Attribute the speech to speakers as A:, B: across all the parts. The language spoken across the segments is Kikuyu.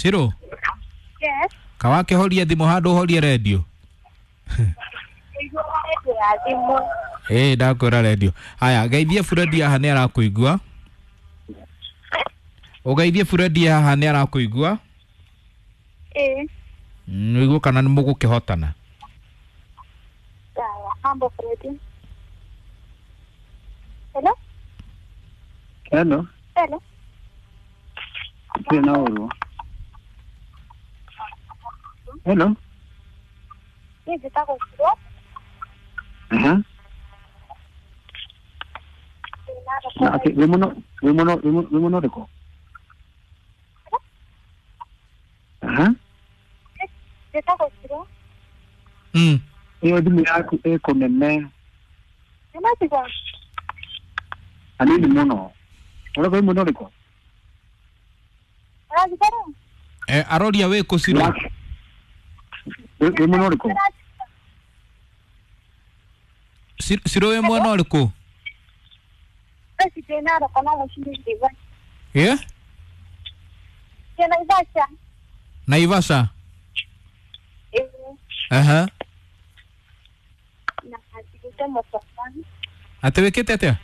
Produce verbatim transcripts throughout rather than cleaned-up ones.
A: Ciro.
B: Yes.
A: Kawakĩhoria thimũ handũ ũhorie redio. Ĩĩ ndakwĩra redio. Haya, geithie Fred haha nĩ arakũigua. Ũgeithie Fred haha nĩ arakũigua.
B: Ĩĩ.
A: Nĩguo kana nĩ mũgũkĩhotana.
B: Sawa, mambo Fred. Hello?
C: Hello.
B: Hello.
C: Ndirĩ na ũru. Hello.
B: Niĩ njĩtagwo Ciro.
C: Aha. Na atĩ wĩ mũno wĩ mũno wĩ mũno ũrĩkũ? Aha.
B: Njĩtagwo Ciro.
A: Mm.
C: Ĩyo thimũ yaku ĩ kũnene.
B: Nĩmatiga.
C: Hanini mũno. Ũrauga wĩ mũno ũrĩkũ?
B: Ũranjigua rĩu?
A: Eh, aroria wĩ kũ Ciro?
C: Wĩ mwena ũrĩkũ?
A: Ciro wĩ mwena ũrĩkũ?
B: Thaa ici ndĩ Narok no mũciĩ nĩ Naivasha.
A: Ĩ?
B: Ndĩ Naivasha.
A: Naivasha?
B: Ĩĩ.
A: Aha.
B: Na njigĩte mũkawa.
A: Atĩ wĩkĩte atĩa?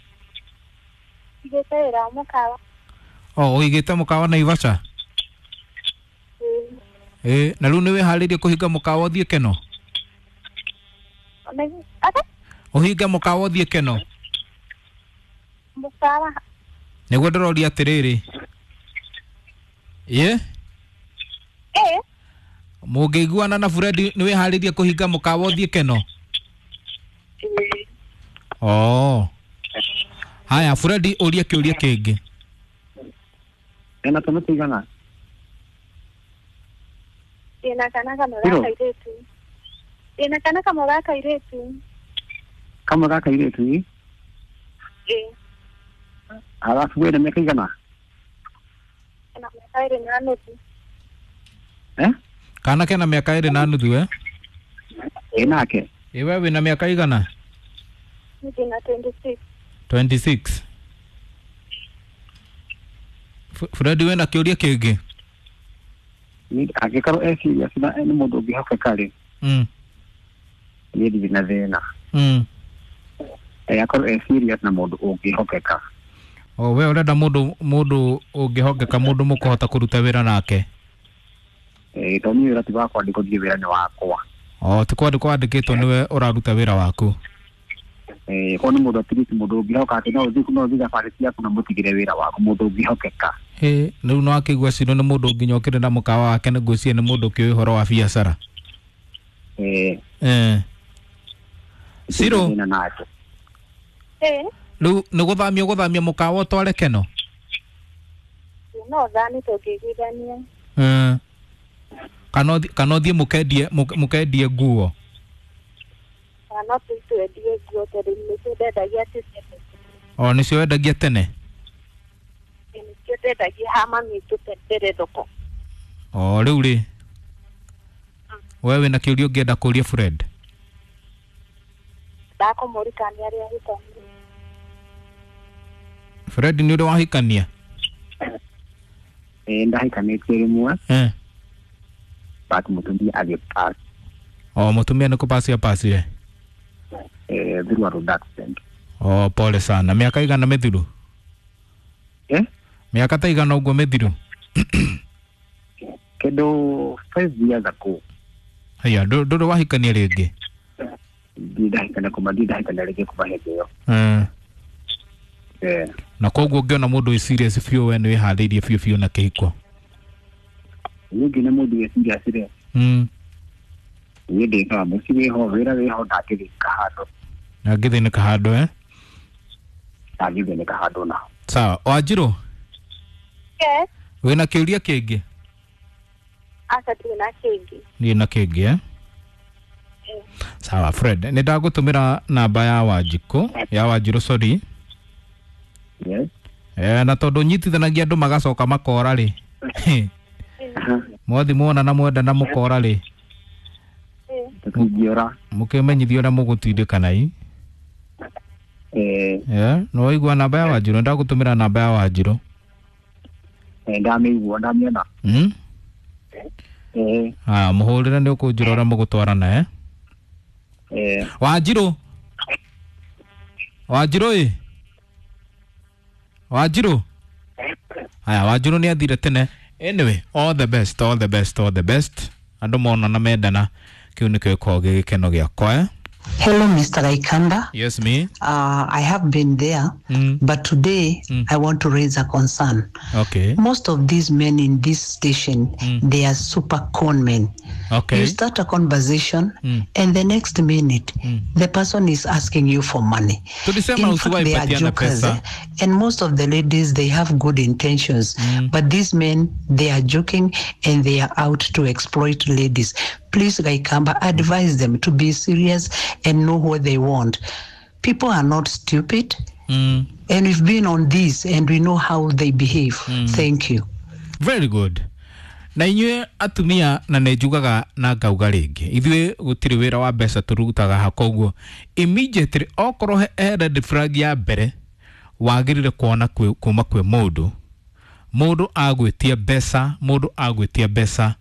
B: Njigĩte wĩra wa mũkawa.
A: O, ũigĩte mũkawa Naivasha?
B: Ĩĩ.
A: Ĩ, na rĩu nĩ wĩharĩirie kũhinga mũkawa ũthiĩ Keno?
B: Ate?
A: Ũhinge mũkawa ũthiĩ Keno?
B: Mũkawa.
A: Nĩguo ndĩroria atĩrĩrĩ. Ĩ?
B: Ĩ.
A: Mũngĩiguana na Fred nĩ wĩharĩirie kũhinga mũkawa ũthiĩ Keno?
B: Ĩĩ.
A: Oh. Haya, Fred ũria kĩũria kĩngĩ.
C: Ena twana tũigana?
B: Ndĩna kana kamwe ga kairĩtu. Ndĩna kana kamwe ga kairĩtu.
C: Kamwe ga kairĩtu?
B: Ĩĩ.
C: Halafu wĩna mĩaka igana?
B: Ena mĩaka ĩrĩ na nuthu.
C: Eh?
A: Kana kena mĩaka ĩrĩ na nuthu eh?
C: Ĩ nake?
A: Ĩ we wĩna mĩaka igana?
B: Ndĩna twenty-six.
A: twenty-six. Fred wĩna kĩũria kĩngĩ?
C: Angĩkorwo e serious na nĩ mũndũ ũngĩhokeka rĩ,
A: Mm.
C: niĩ ndirĩ na thĩna.
A: Mm.
C: Eh, akorwo e serious na mũndũ ũngĩhokeka.
A: O we ũrenda mũndũ mũndũ ũngĩhokeka, mũndũ mũkũhota kũruta wĩra nake?
C: Eh, tondũ niĩ wĩra ti wakwa, ndikũthiĩ wĩra nĩ wakwa.
A: O ti kwandĩkwo wandĩkĩtwo nĩwe ũraruta wĩra waku?
C: Eh, korwo nĩ mũndũ at least mũndũ ũngĩhoka atĩ no ũthiĩ no ũthiĩ thabarĩ ciaku na mũtigĩre wĩra waku, mũndũ ũngĩhokeka.
A: Ĩ, rĩu no akĩigua Ciro nĩ mũndũ nginya ũkĩrĩ na mũkawa wake nĩ ngwĩciria nĩ mũndũ ũkĩũĩ ũhoro wa biacara.
C: Eh.
A: Eh. Ciro.
C: Thĩna nake.
B: Ĩ.
A: Rĩu nĩ gũthamia ũgũthamia mũkawa ũtware Keno?
B: No thami tũngĩiguithania.
A: Eh. Kana kana ũthiĩ mũkendie mũkendie nguo?
B: Kana no twendie nguo tondũ nĩcio ndendagia tene.
A: O nĩcio wendagia tene?
B: Nĩcio ndendagia ha mami witũ mbere thoko.
A: O rĩu rĩ, we wĩna kĩũria ũngĩenda kũria Fred?
B: Ndakũmũria kana nĩ arĩ ahikania.
A: Fred nĩ ũrĩ wahikania?
C: Ĩ, ndahikanĩtie rĩmwe.
A: Eh.
C: But mũtumia agĩpass.
A: O mũtumia nĩ kũpass apacire?
C: Eh, through a road accident.
A: O pole sana. Mĩaka igana mĩthiru?
C: Eh?
A: Mĩaka ta igana ũguo mĩthiru?
C: Kĩndũ five years ago.
A: Haya, ndũrĩ wahikania rĩngĩ?
C: Ndirĩ ndahikania kuma ndirĩ ndahikania rĩngĩ kuma hĩndĩ ĩyo.
A: Eh.
C: Eh.
A: Na koguo ũngĩona mũndũ wĩ serious biũ we nĩ wĩharĩirie biũ biũ na kĩhiko?
C: Niĩ ngĩona mũndũ wĩ serious rĩ,
A: Mm.
C: niĩ ndĩ sawa, mũciĩ wĩho, wĩra wĩho, ndangĩthĩnĩka handũ.
A: Ndangĩthĩnĩka handũ eh?
C: Ndangĩthĩnĩka handũ naho.
A: Sawa, Wanjirũ?
B: Yes.
A: Wĩna kĩũria kĩngĩ?
B: Aca ndirĩ na kĩngĩ.
A: Ndirĩ na kĩngĩ eh? Sawa Fred, nĩ ndagũtũmĩra namba ya Wanjikũ, ya Wanjirũ sorry.
C: Yes.
A: Eh, na tondũ nyitithanagia andũ magacoka makora rĩ. Mwathi mwona na mwenda na mũkora rĩ.
C: Tũtingĩora.
A: Mũkĩmenyithio ũrĩa mũgũtindĩkana i.
C: Eh.
A: Eh, no waigua namba ya Wanjirũ, ndagũtũmĩra namba ya Wanjirũ.
C: Eh, ndamĩigua, ndamĩona.
A: Mm.
C: Eh.
A: Haya, mũhũrĩre nĩ ũkũnjĩra ũrĩa mũgũtwarana eh?
C: Eh.
A: Wanjirũ, Wanjirũ ĩ, Wanjirũ. Haya, Wanjirũ nĩ athire tene. Anyway, all the best, all the best, all the best. Andũ monana mendana, kĩu nĩkĩo gĩkoragwo gĩ gĩkeno gĩakwa eh?
D: Hello, Mister Kaikamba.
A: Yes, me.
D: Uh, I have been there,
A: Mm.
D: but today
A: Mm.
D: I want to raise a concern.
A: Okay.
D: Most of these men in this station,
A: Mm.
D: they are super con men.
A: Okay.
D: You start a conversation,
A: Mm.
D: and the next minute,
A: Mm.
D: the person is asking you for money.
A: Tulisema
D: In fact,
A: usiwahi
D: they are
A: patiana
D: jokers,
A: pesa.
D: eh? And most of the ladies, they have good intentions.
A: Mm.
D: But these men, they are joking and they are out to exploit ladies. Please, Kaikamba, advise them to be serious and know what they want. People are not stupid.
A: Mm.
D: And we've been on this and we know how they behave.
A: Mm.
D: Thank you.
A: Very good. Na inyuĩ atumia, na nĩ njugaga na ngauga rĩngĩ, ithuĩ gũtirĩ wĩra wa mbeca tũrutaga ha, koguo immediately okorwo he he red flag ya mbere wagĩrĩire kuona kwĩ- kuma kwĩ mũndũ, mũndũ agwĩtia mbeca, mũndũ agwĩtia mbeca,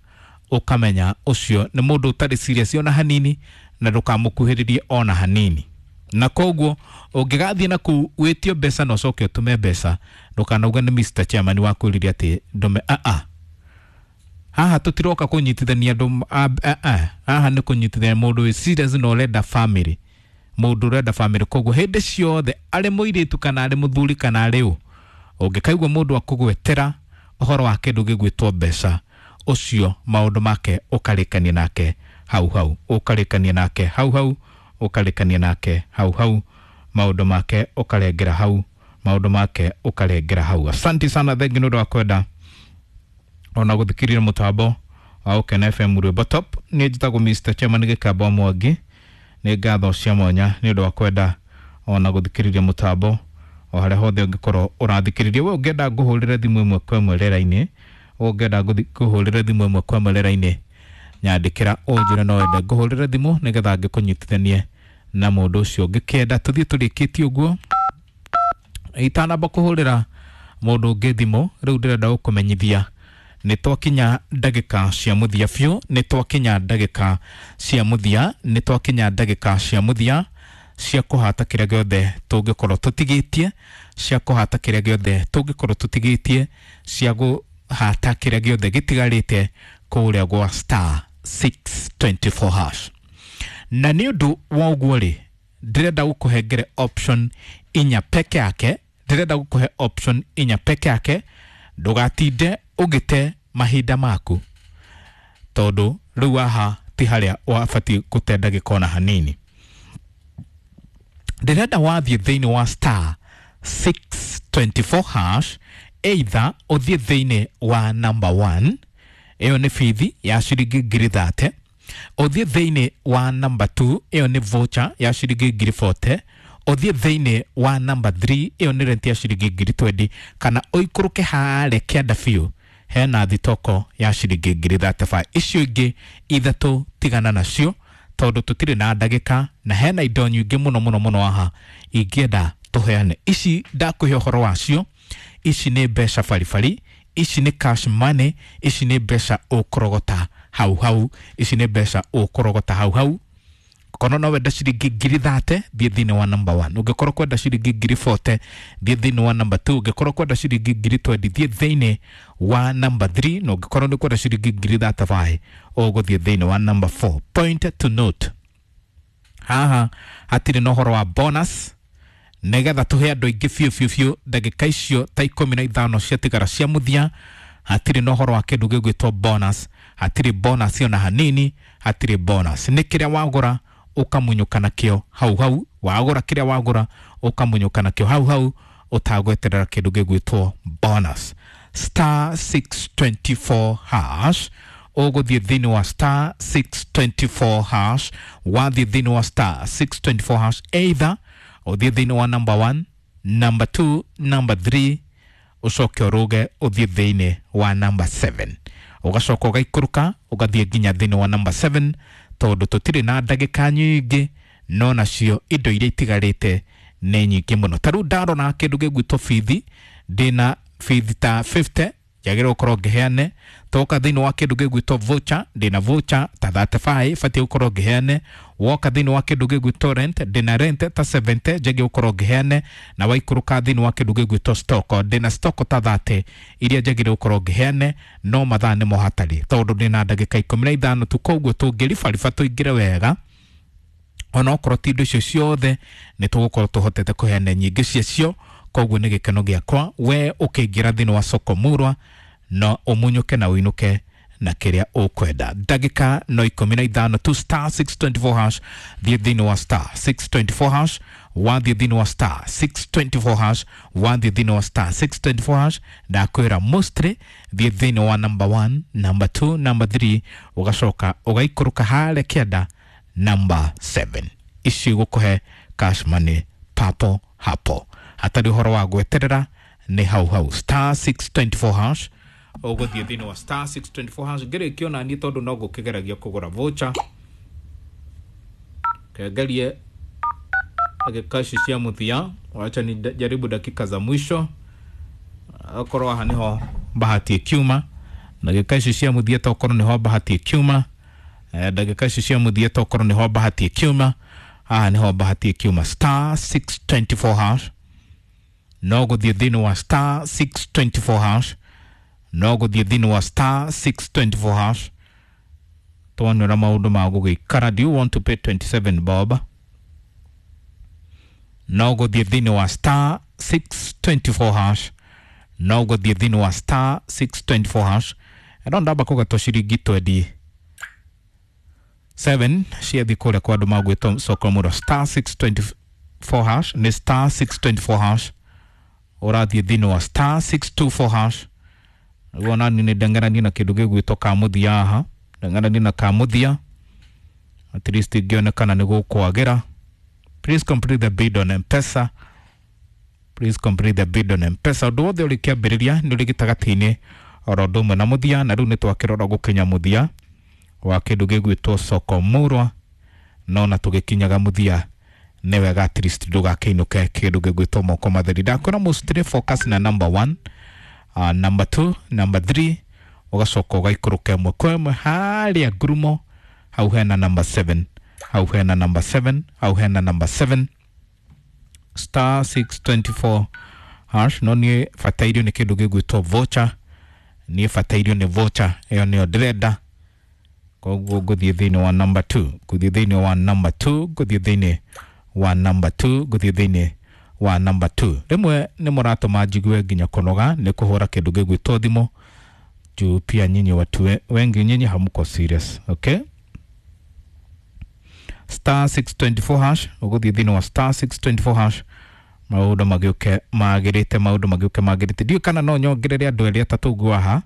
A: ũkamenya ũcio nĩ mũndũ ũtarĩ serious ona hanini, na ndũkamũkuhĩrĩrie ona hanini. Na koguo ũngĩgathiĩ na kũu wĩtio mbeca na ũcoke ũtũme mbeca, ndũkanauge nĩ Mister Chairman wakwĩrire atĩ ndũme. Aa, haha tũtiroka kũnyitithania andũ a- a- a. Haha nĩ kũnyitithania mũndũ wĩ serious na ũrenda family, mũndũ ũrenda family. Koguo hĩndĩ ciothe, arĩ mũirĩtu kana arĩ mũthuri kana arĩ ũ, ũngĩkaigua mũndũ akũgwetera ũhoro wa kĩndũ gĩgwĩtwo mbeca, ũcio maũndũ make ũkarĩkania nake hau hau, ũkarĩkania nake hau hau, ũkarĩkania nake hau hau, maũndũ make ũkarengera hau, maũndũ make ũkarengera hau. Asante sana, thengi nĩ ũndũ wa kwenda ona gũthikĩrĩria mũtambo wa Ũkena F M, rwĩmbo top. Niĩ njĩtagwo Mister Chairman Gĩkamba Mwangi. Nĩ ngatho cia mwanya nĩ ũndũ wa kwenda ona gũthikĩrĩria mũtambo o harĩa hothe ũngĩkorwo ũrathikĩrĩria. We ũngĩenda ngũhũrĩre thimũ ĩmwe kwa ĩmwe rĩera-inĩ, ũngĩenda ngũthi- ngũhũrĩre thimũ ĩmwe kwa ĩmwe rĩera-inĩ, nyandĩkĩra ũnjĩre no wende ngũhũrĩre thimũ nĩgetha ngĩkũnyitithanie na mũndũ ũcio ũngĩkĩenda. Tũthiĩ tũrĩkĩtie ũguo, itanamba kũhũrĩra mũndũ ũngĩ thimũ rĩu, ndĩrenda gũkũmenyithia nĩ twakinya ndagĩka cia mũthia biũ, nĩ twakinya ndagĩka cia mũthia, nĩ twakinya ndagĩka cia mũthia cia kũhata kĩrĩa gĩothe tũngĩkorwo tũtigĩtie, cia kũhata kĩrĩa gĩothe tũngĩkorwo tũtigĩtie, cia kũhata kĩrĩa gĩothe gĩtigarĩte kũrĩa gwa star six two four hash. Na nĩ ũndũ wa ũguo rĩ, ndĩrenda gũkũhengere option inya peke yake, ndĩrenda gũkũhe option inya peke yake. Ndũgatinde ũgĩte mahinda maku, tondũ rĩu haha ti harĩa wabatiĩ gũte ndagĩka ona hanini. Ndĩrenda wathiĩ thĩinĩ wa star six two four hash, either ũthiĩ thĩinĩ wa number one, ĩyo nĩ bithi ya ciringi ngiri thate, ũthiĩ thĩinĩ wa number two, ĩyo nĩ voucher ya ciringi ngiri forty, ũthiĩ thĩinĩ wa number three, ĩyo nĩ rent ya ciringi ngiri twenty, kana ũikũrũke harĩa kĩanda biũ hena thitoko ya ciringi ngiri thirty-five. Icio ingĩ ithatũ tigana nacio, tondũ tũtirĩ na ndagĩka na hena indo nyingĩ mũno mũno mũno haha ingĩenda tũheane. Ici ndakũhe ũhoro wacio, ici nĩ mbeca baribari, ici nĩ cash money, ici nĩ mbeca ũkũrogota hau hau, ici nĩ mbeca ũkũrogota hau hau. Korwo no wenda ciringi ngiri thate, thiĩ thĩinĩ wa number one. Ũngĩkorwo kwenda ciringi ngiri forty, thiĩ thĩinĩ wa number two. Ũngĩkorwo kwenda ciringi ngiri twenty, thiĩ thĩinĩ wa number three. Na ũngĩkorwo nĩ kwenda ciringi ngiri thirty-five, ũgũthiĩ thĩinĩ wa number four. Point to note, haha hatirĩ na ũhoro wa bonus, nĩgetha tũhe andũ aingĩ biũ biũ biũ ndagĩka icio ta ikũmi na ithano ciatigara cia mũthia. Hatirĩ na ũhoro wa kĩndũ gĩgwĩtwo bonus, hatirĩ bonus ona hanini, hatirĩ bonus. Nĩ kĩrĩa wagũra ũkamunyũka nakĩo hau hau, wagũra kĩrĩa wagũra ũkamunyũka nakĩo hau hau, ũtagweterera kĩndũ gĩgwĩtwo bonus. Star six two four hash, ũgũthiĩ thĩinĩ wa star six two four hash. Wathiĩ thĩinĩ wa star six two four hash, either ũthiĩ thĩinĩ wa number one, number two, number three, ũcoke ũrũge ũthiĩ thĩinĩ wa number seven, ũgacoka ũgaikũrũka ũgathiĩ nginya thĩinĩ wa number seven, tondũ tũtirĩ na ndagĩka nyingĩ, no nacio indo iria itigarĩte nĩ nyingĩ mũno. Ta rĩu ndarora kĩndũ gĩgwĩtwo bithi, ndĩna bithi ta fifty Njagĩrĩirwo gũkorwo ngĩheane. Toka thĩinĩ wa kĩndũ gĩgwĩtwo voucher, ndĩna voucher ta thirty-five batiĩ gũkorwo ngĩheane. Woka thĩinĩ wa kĩndũ gĩgwĩtwo rent, ndĩna rent ta seventy njagĩrĩirwo gũkorwo ngĩheane. Na waikũrũka thĩinĩ wa kĩndũ gĩgwĩtwo stock, ndĩna stock ta thirty iria njagĩrĩirwo gũkorwo ngĩheane, no mathaa nĩmo hatarĩ tondũ ndĩna ndagĩka ikũmi na ithano tu, koguo tũngĩribariba tũingĩre wega onokorwo ti indo icio ciothe nĩ tũgũkorwo tũhotete kũheana nyingĩ ciacio. Koguo nĩ gĩkeno gĩakwa we ũkĩingĩra thĩinĩ wa soko murwa no ũmunyũke na ũinũke na kĩrĩa ũkwenda. Ndagĩka no ikũmi na ithano tu, star six twenty-four hash, thiĩ thĩinĩ wa star six twenty-four hash, wathiĩ thĩinĩ wa star six twenty-four hash, wathiĩ thĩinĩ wa star six twenty-four hash, ndakwĩra mostly thiĩ thĩinĩ wa number one, number two, number three, ũgacoka ũgaikũrũka harĩa kĩanda number seven. Ici gũkũhe cash money papo hapo, hatarĩ ũhoro wa gweterera, nĩ hau hau star six twenty-four hash. Ũgũthiĩ thĩinĩ wa star six twenty-four hash ngĩrĩkio na niĩ tondũ no ngũkĩgeragia kũgũra voucher, kengerie ndagĩka ici cia mũthia, wacha ni jaribu dakika za mwisho, okorwo haha nĩho bahati ĩkiuma. Ndagĩka ici cia mũthia tokorwo nĩho bahati ĩkiuma. Ndagĩka ici cia mũthia tokorwo nĩho bahati ĩkiuma. Haha nĩho bahati ĩkiuma, star six twenty-four hash, no gũthiĩ thĩinĩ wa star six twenty-four hash, no gũthiĩ thĩinĩ wa star six twenty-four hash. Tuonera maũndũ ma gũgĩikara. Do you want to pay twenty-seven bob? No gũthiĩ thĩinĩ wa star six twenty-four hash, no gũthiĩ thĩinĩ wa star six twenty-four hash. Eno ndamba kũgatwo ciringi twenty seven ciathiĩ kũrĩa kwa andũ magwĩtwo soko murwa. Star six twenty-four hash nĩ star six twenty-four hash, ũrathiĩ thĩinĩ wa star six two four hash. Rĩu nani nĩ ndengeranie na kĩndũ gĩgwĩtwo kamũthia haha, ndengeranie na kamũthia at least ingĩonekana nĩ gũkwagĩra. Please complete the bid on M-Pesa, please complete the bid on M-Pesa. Ũndũ wothe ũrĩ kĩambĩrĩria nĩ ũrĩ gĩtagatĩ-inĩ oro ũndũ ũmwe na mũthia, na rĩu nĩ twakĩrora gũkinya mũthia wa kĩndũ gĩgwĩtwo soko murwa, no na tũgĩkinyaga mũthia nĩ wega at least ndũgakĩinũke kĩndũ gĩgwĩtwo moko matheri. Ndakwĩra mostly focus na number one, uh, number two, number three, ũgacoka ũgaikũrũka ĩmwe kwa ĩmwe harĩa ngurumo hau hena number seven, hau hena number seven, hau hena number seven, star six twenty-four hash. No niĩ batairio nĩ kĩndũ gĩgwĩtwo voucher, niĩ batairio nĩ voucher ĩyo nĩyo ndĩrenda, koguo ngũthiĩ thĩinĩ wa number two, ngũthiĩ thĩinĩ wa number two, ngũthiĩ thĩinĩ wa number two, ngũthiĩ thĩinĩ wa number two. Rĩmwe nĩ mũratũma njigue nginya kũnoga nĩ kũhũra kĩndũ gĩgwĩtwo thimũ juu pia nyinyi watu wengi nyinyi hamuko serious. Okay, star six twenty-four hash, ũgũthiĩ thĩinĩ wa star six twenty-four hash, maũndũ magĩũke magĩrĩte, maũndũ magĩũke magĩrĩte. Ndiũĩ kana no nyongerere andũ erĩ atatũ ũguo haha.